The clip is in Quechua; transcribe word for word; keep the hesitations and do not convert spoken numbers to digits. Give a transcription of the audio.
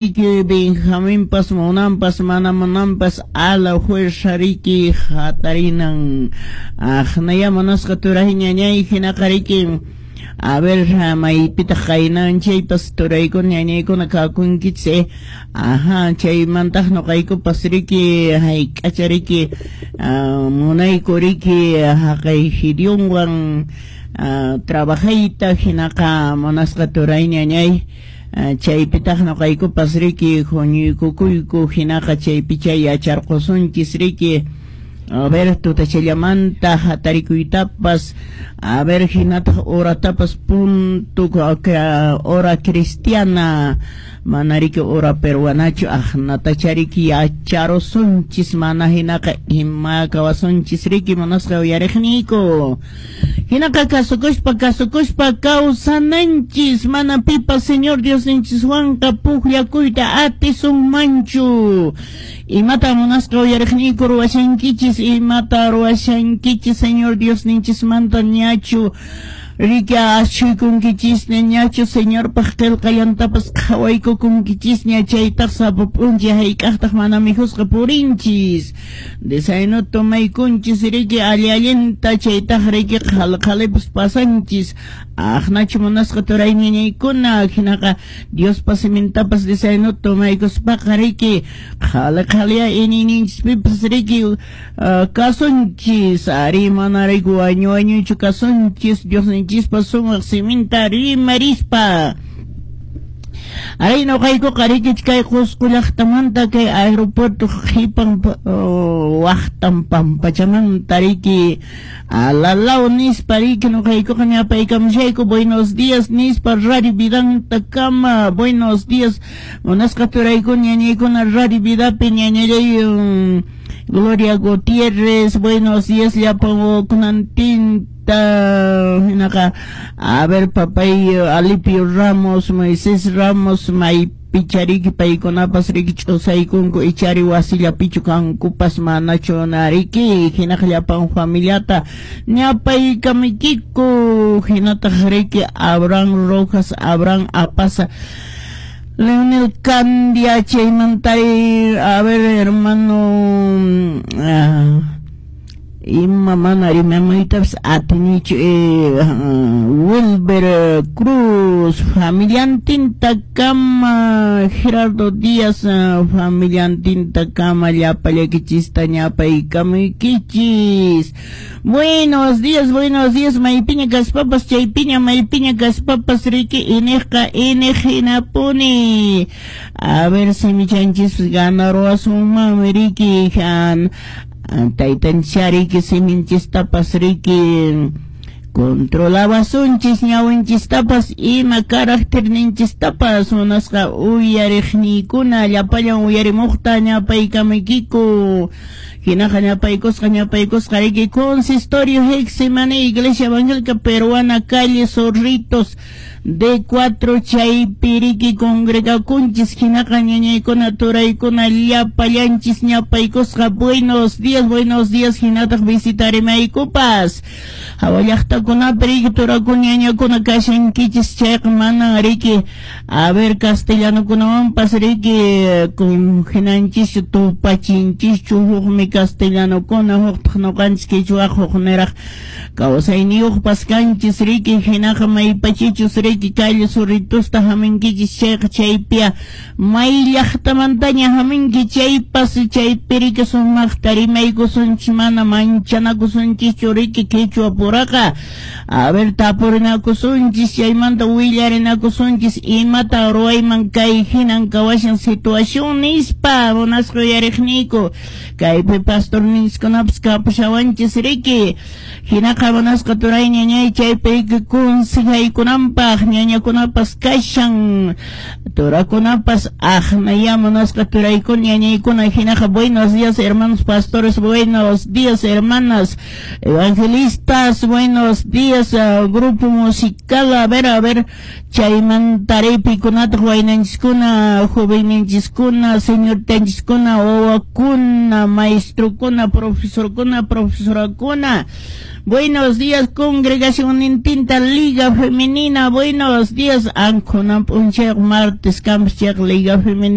Benjaminpas munanpas mana munanpas a la fuerza riki hatarinan aqnaya munasqa turay ñañay hinaqa riki. A ver, maypitaq qaynan chaypas turaykuna ñañaykuna kakunkichis eh. Ajá, chaymantaq nuqaykupas riki hayk'acha riki munayku riki haqay Gideonwan trabajayta hinaqa munasqa turay ñañay chaypitaq nuqaykupas riki huñuykukuyku hinaqa chaypicha yacharqusunchis riki. A ver, tutachallamanta hatarikuytapas, a ver, hinataq horatapas punto hora cristiana mana riki hora peruanachu aqnatacha riki yacharusunchis mana hinaqa ima kawasunchis riki munasqa uyariqniyku. Hinaqa kasukuspa kasukuspa kawsananchis mana pipas Señor Diosninchiswanqa pukllakuyta atisunmanchu. Imata munasqa uyariqniyku ruwashankichis, imata ruwashankichis Señor Diosninchismanta ñachu riki ashuykunkichisña ñachu Señorpaq qillqallantapas qhawaykukunkichisña chaytaq sapa p'unchay hayk'aqtaq mana mikhusqa purinchis desayuno tomaykunchis riki alli allinta chaytaq riki qhali qhalipas pasanchis aqnachu munasqa turay ñañaykuna hinaqa Diospa simintapas desayuno tomaykuspaqa riki qhali qhaliya iñiyninchispipas riki kasunchis ari mana riki wañu wañuychu kasunchis Diosninchispa sumaq siminta rimarispa. Aray nuqaykuqa riki kay Qusqu llaqtamanta kay aeropuerto qhipan waqtan pampachamanta riki alalaw nispa riki nuqaykuqa ñapaykamushayku buenos días nispa Radio Vidanta kama buenos días munasqa turaykuna ñañaykuna Radio Vidapi ñañallay Gloria Gutiérrez, buenos días llapan kunantinta hinaqa a ver papay Alipio Ramos, Moisés Ramos, maypichariki paykunapas riki ch'usaykunku ichari wasillapichu kankupas manachu nariki hinaqa llapan familiata ñapaykamuykiku hinataq riki Abraham Rojas, Abraham Apaza, Leonel Candia, chaymantari, a ver hermano, ah, ima mana rimamaytapas atinichu eh, Wilber Cruz, familiantinta kama, Gerardo Díaz, familiantinta kama, llapallaykichista ñapaykamuykichis. Buenos días, buenos días, maypiña kaspapas, chaypiña, maypiña kaspapas, riki, iniqqa, iniq hinapuni. A ver si michanchispas ganaruwasunmanmi riki, han taytanchis riki siminchistapas riki controlawasunchis ñawinchistapas ima carácterninchistapas munasqa uyariqniykuna llapallan uyarimuqta ñapaykamuykiku. Hinaqa ñapaykusqa ñapaykusqa riki Consistorio Getsemaní Iglesia Evangélica Peruana calle Zorritos D cuatro chaypi riki congregakunchis hinaqa ñañaykuna turaykuna llapallanchis ñapaykusqa buenos días, buenos días hinataq visitarimaykupas hawa llaqtakunapi riki turakuna ñañakuna kashankichis chayqa manan riki a ver castellanokunawanpas riki kunhinanchischu tupachinchischu hukmi castellanokuna huktaq nuqanchis quechua hukniraq kawsayniyuqpas kanchis riki hinaqa maypachichus riki calle Zorritosta haminkichis chayqa chaypiya may llaqtamantaña haminki chaypas chaypi riki sumaqta rimaykusunchis mana manchanakusunchischu riki quechua puraqa a ver tapurinakusunchis chaymanta willarinakusunchis imata ruwayman kay hinan kawashan situación nispa munasqa uyariqniyku kaypi pastorninchiskunapas kapushawanchis riki hinaqa munasqa turay ñañay chaypi riki consejaykunanpaq ñañakunapas kashan turakunapas aqnaya munasqa turaykuna ñañaykuna hinaqa buenos días hermanos pastores, buenos días hermanas evangelistas, buenos días uh, grupo musical, a ver, a ver chaymantari pikunataq waynanchiskuna jovenninchiskuna señortanchiskuna wawakuna maestrokuna profesorkuna profesorakuna. Buenos días congregación Nintinta Liga Femenina, buenos Buenos días, ankunan p'unchayqa martes kanpas chayqa Liga Femenina.